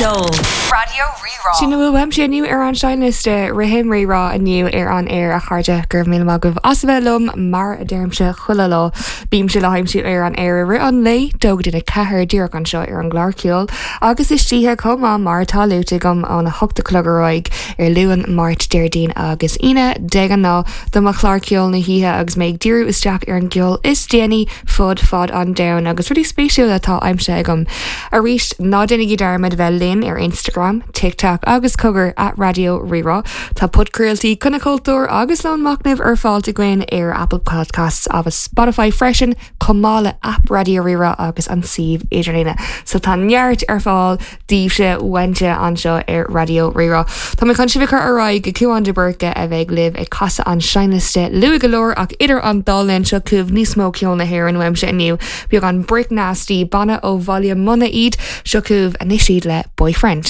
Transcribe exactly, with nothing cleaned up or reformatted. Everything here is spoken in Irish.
Ceol Raidió Rí-Rá. Sin a bhfuil uaimse inniu ar an seinnliosta Rithim Rí-Rá inniu ar an aer a chairde go raibh míle maith agaibh as a bheith liom mar a deirimse chuile lá bímse le haimsiú ar an aer i rith an lae dó go dtí a ceathair díreach anseo ar an gclár ceoil agus istoíche chomh maith mar atá luaite agam óna hocht a chlog ar aghaidh ar Luan Máirt Déardaoin agus Aoine de ghnáth do mo chlár ceoil na hoíche agus mé ag díriú isteach ar an gceol is déanaí fud fad an domhain agus rudaí spéisiúla atá aimsithe agam. Arís ná déanaigí dearmad bheith linn ar Instagram, TikTok agus cogar at Raidió Rí-Rá. Tá podchraoltaí Coinne Cultúr agus Lón Machnaimh ar fáil againn ar Apple Podcasts agus Spotify freisin chomh maith le app Raidió Rí-Rá agus an suíomh idirlíne. So tá neart ar fáil daoibhse uaimse anseo ar Raidió Rí-Rá. Tá mé chun sibh a chur ar aghaidh go Cuan de Búrca a bheidh libh ag casadh an seinnliosta luath go leor ach idir an dá linn seo chugaibh níos mó ceol na hÉireann uaimse inniu. Beagán Brick Nasty banna ó Bhaile Munna iad seo chugaibh anois iad le boyfriend.